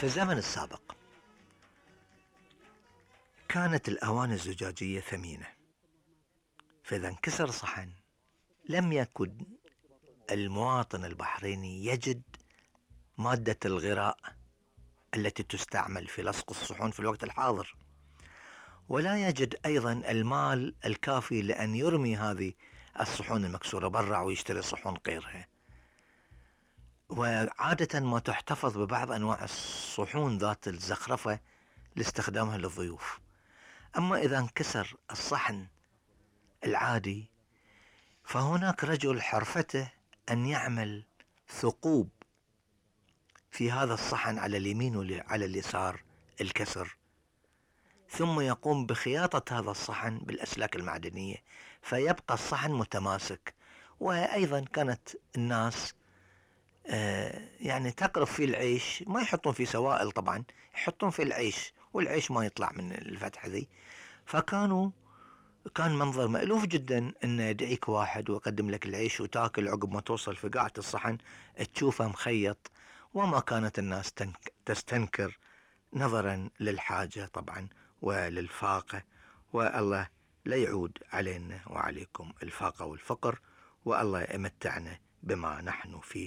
في الزمن السابق كانت الأواني الزجاجية ثمينة، فإذا انكسر صحن لم يكن المواطن البحريني يجد مادة الغراء التي تستعمل في لصق الصحون في الوقت الحاضر، ولا يجد أيضا المال الكافي لأن يرمي هذه الصحون المكسورة برا ويشتري صحون غيرها، وعادة ما تحتفظ ببعض أنواع الصحون ذات الزخرفة لاستخدامها للضيوف. أما إذا انكسر الصحن العادي فهناك رجل حرفته أن يعمل ثقوب في هذا الصحن على اليمين وعلى اليسار الكسر، ثم يقوم بخياطة هذا الصحن بالأسلاك المعدنية فيبقى الصحن متماسك. وأيضا كانت الناس يعني تقرف فيه العيش، ما يحطون فيه سوائل طبعا، يحطون فيه العيش والعيش ما يطلع من الفتحة ذي. كان منظر مألوف جدا ان يدعيك واحد ويقدم لك العيش وتاكل عقب ما توصل في قاعة الصحن تشوفه مخيط، وما كانت الناس تستنكر نظرا للحاجة طبعا وللفاقة. والله لا يعود علينا وعليكم الفاقة والفقر، والله يمتعنا بما نحن فيه